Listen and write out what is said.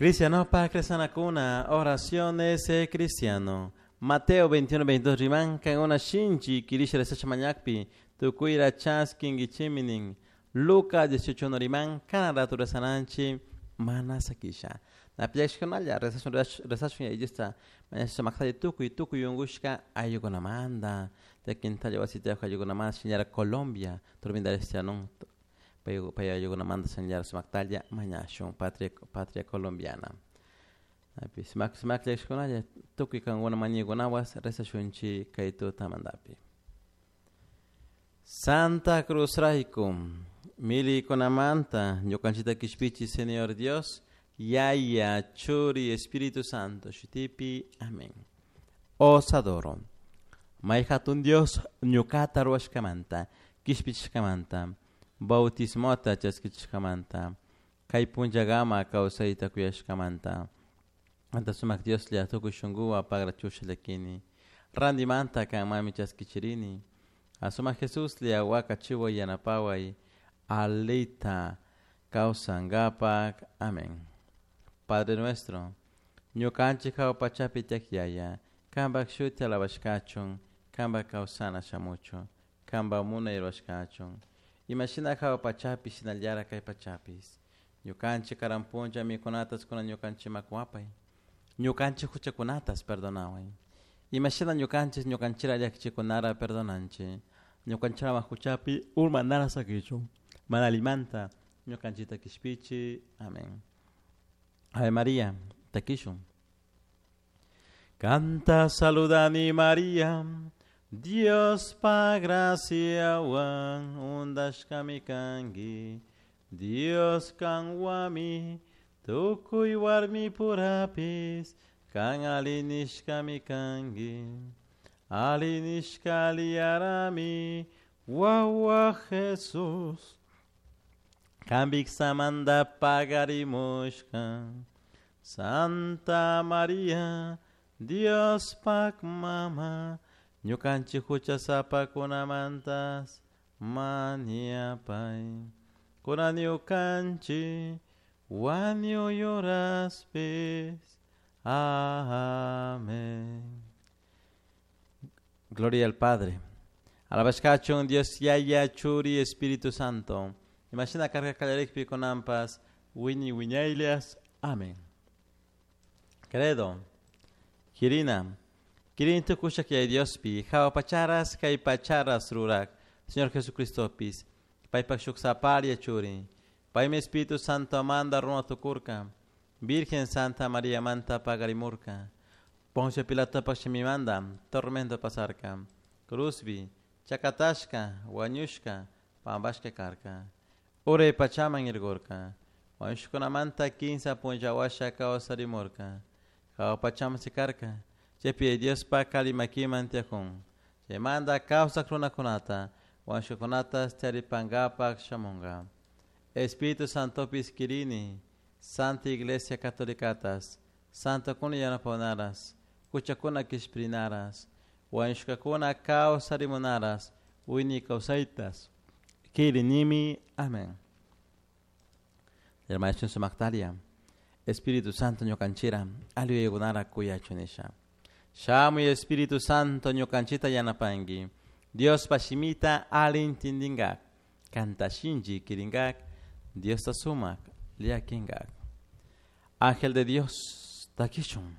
Cristiano pa cristianakuna, oraciones de cristiano. Mateo 21, 22 riman kankuna shinchi kirisha rezasha mañakpi tukuyra chaskinkichiminin. Lucas 18 1 riman kana ratu rezananchi mana sakisha. Napiashkunalla rezashun rezashun yayista mañasha maqtalla tukuy tukuy unkushka ayllukunamanta Quintalla wasita ayllukunamanta señora Colombia turbinda pay pay ayllukunamanta señora sumaqtalla mañashun patria patria colombiana. Napi sumaq sumaq tukuy kankuna mañaykunawas rezashunchik kay tutamantapi. Santa Cruz rayku milikunamanta ñukanchikta kishpichi Señor Dios Yaya Churi Espíritu Santo shutipi amén. Os adoro. May hatun Dios ñuqata ruwashkamanta kishpichishkamanta bautismota chaskichishkamanta kay punllakama kawsayta kuyashkamanta anta sumak Dioslla tukuy shunkuwan pagrachusha llakini rantimanta kanmanmi chaskichirini asumak Jesuslla wakachiway yanapaway alita kawsankapak amén. Padre nuestro ñukanchik hawa pachapi tiyak yaya kanpak shuti alabashkachun kanpak kawsana shamuchun kanpak munay rurashkachun imashina hawa pachapi shinallara kay pachapis ñukanchik karan punlla mikunatas kunan ñukanchikman kuwapay ñukanchik huchakunatas perdonaway imashina ñukanchik ñukanchira llakichikunara perdonanchik ñukanchikama huchapi urmanara sakichun mana allimanta ñukanchikta kishpichi amén. Ave María takishun Canta saludani María Dios pa graciawan undashkami kanki Dios kanwami tukuy warmi purapis kan alinishkami kanki alinishka aliyarami wawa Jesús Kambik samanda pagarimushka Santa María Dios pak mama ñukanchik huchasapakunamantas mañapay kunan ñukanchik wañuy horaspis Amén. Gloria al Padre. Alabashkachun Dios Yaya Churi Espíritu Santo. Imashina karka kallarikpi kunanpas wiñay wiñaylias. Amén. Credo. Kirina. Kirin tukushak yay Diospi, hawa pacharas kay pacharas rurak, Señor Jesucristopis, paypak shuk saparia churi, paymi Espíritu Santo manda runa tukurka, Virgen Santa María manta pagarimurka, Poncio Pilatopak shimimanta tormento pasarka, cruzbi, chakatashka, wañushka, pampashka karka, uray pachaman irkurka, wañushkunamanta kinsa punlla washa kawsarimurka, hawa pachaman sikarka, chaypi Diospa kalimakiman tiyakun, chaymanta kawsak runakunata, wañushkakunata charipankapak shamunka. Espíritu Santopis kirini, Santa Iglesia Catolicatas, Santokuna yanapawaras, huchakuna kishpirinaras, wañushkakuna kawsarimunaras, wiñay kawsaytas, kirinimi. Amén. Hermano sumaqtaria, Espíritu Santo ñukanchira, aliyaykunara kuyachun nisha. Shamuy Espíritu Santo ñukanchita yanapanki, Diospa shimita ali intindinkak, kanta shinchi kirinkak, Diosta sumak llakinkak. Ángel de Dios, takishun.